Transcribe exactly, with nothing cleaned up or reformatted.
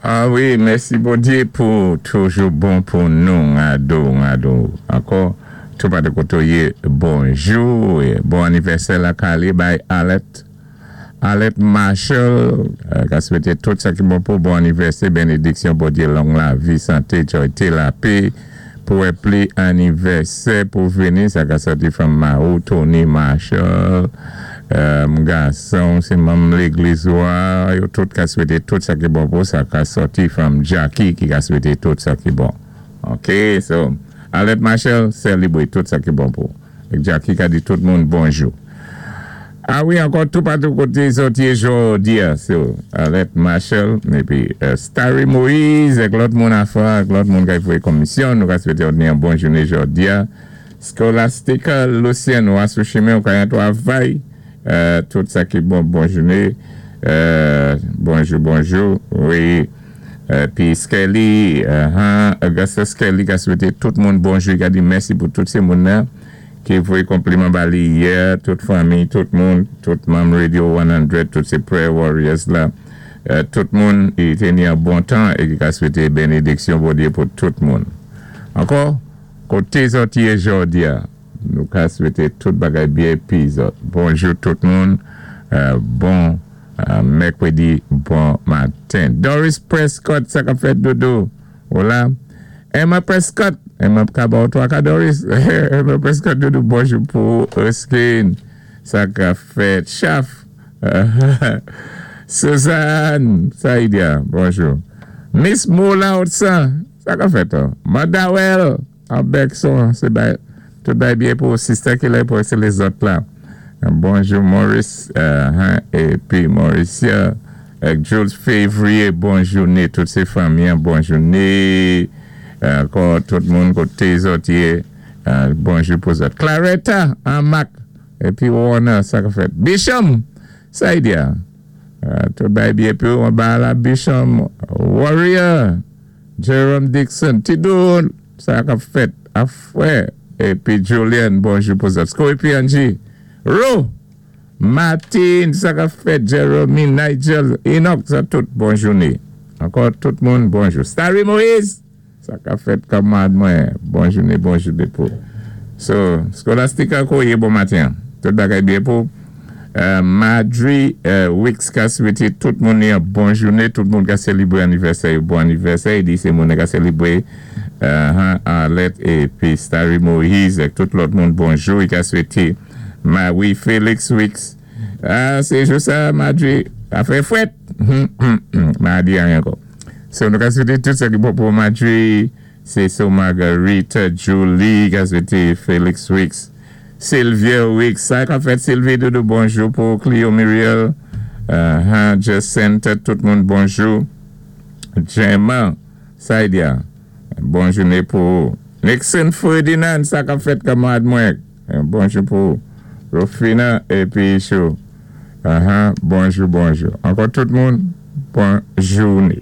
Ah wi, mèsi Bondyé pou toujou bon pou nou, ado, ado. Ankò, tou patou koté ou yé, bonjou, bon anivèsè lakay bay Alet. Alet Marshall, ka swété tout sa ki bon pou bon anivèsè, bénédiksyon, Bondyé, long lavi, santé, joyté, lapè, pou wè plis anivèsè pou vini, sa ka sòti from Mao, Tony Marshall, gason, sé manm légliz wa, yo tout ka swété tout sa ki bon pou, sa ka sòti from Jackie ki ka swété tout sa ki bon. Ok, so, Alet Marshall, sélébwé tout sa ki bon pou. Jackie ka di tout moun bonjou. Ah wi, ankò tou patou koté zòt yé jòdi a, so, Alet Marshall, épi Starry Moïse, èk lòt moun afa, èk lòt moun ka voyé komisyon, nou ka swété yon bon jouné jòdi a. Scholastica Lucien, nou sou chimen, ou ka yon twavay, tout sa ki bon, bon jouné, bonjou, bonjou, wi, pi Skelly, Augustus Skelly ka swété tout moun bonjou, ka di mèsi pou tout sé moun nan, ki voyé konpliman ba li yè, tout fanmi, tout moun, tout manm Radio san, tout sé Prayer Warriors la, tout moun, i té ni yon bon tan, é ki ka swété bénédiksyon Bondyé pou tout moun. Ankò, koté zòt yé jòdi a, nou ka swété tout bagay byen pi zòt. Bonjou tout moun, bon mèkwédi, bon maten. Doris Prescott, sa ka fèt dodo. Hola. Emma Prescott, Emma ka ba ou twa ka Doris. Emma Prescott dodo, bonjou pou Erskine. Sa ka fèt Chaf. Suzanne, Saïdia, bonjou. Miss Moula Otsan, sa ka fèt. Madawel, an Bekson, sé bay, tout bay byen pou sister ki la pou sé lézòt la. Bonjou Maurice, épi Mauricia, Jules Février, bon jouné, tout sé fanmi, bon jouné. Ankò tout moun koté zòt yé, bonjou pou zòt. Claretta, an Mac, épi Warner, sa ka fèt. Bisham, Saïdia, tout bay byen pou an ba la Bisham, Warrior, Jerome Dixon, Tidou, sa ka fèt, Afwè, épi Julian, bonjou pou zòt. Scorpion Angie, Ro, Martin, sa ka fèt, Jeremy, Nigel, Enoch, sa tout, bon jouné. Ankò tout moun, bonjou. Starry Moïse, sa ka fèt kanmad mwen, bon jouné, bonjou depo. So, Scholastica Koye, bon maten. Tout bagay byen pou. Madri Wicks ka swété tout moun yon bon jouné, tout moun ka sélébwé anivèsè, bon anivèsè, i di sé moun ka sélébwé Arlette épi Starry Moïse, tout lòt moun bonjou, i ka swété Marie Félix Wicks. Ah, sé jou sa, Madri, a fè fwèt. Madri anyen ankò. So, nou ka swété tout sa ki bon pou Madri, sé so Margarita, Julie, ka swété Félix Wicks, Sylvia Wicks, sa ka fèt Sylvie Doudou, bonjou pou Clio Muriel, uh, Jacinta, tout moun bonjou, Gemma, Saidia, bon jouné pou Nixon Ferdinand, sa ka fèt kanmad mwen, bonjou pou Rufina épi Chou, uh, bonjou, bonjou. Ankò tout moun, bon jouné.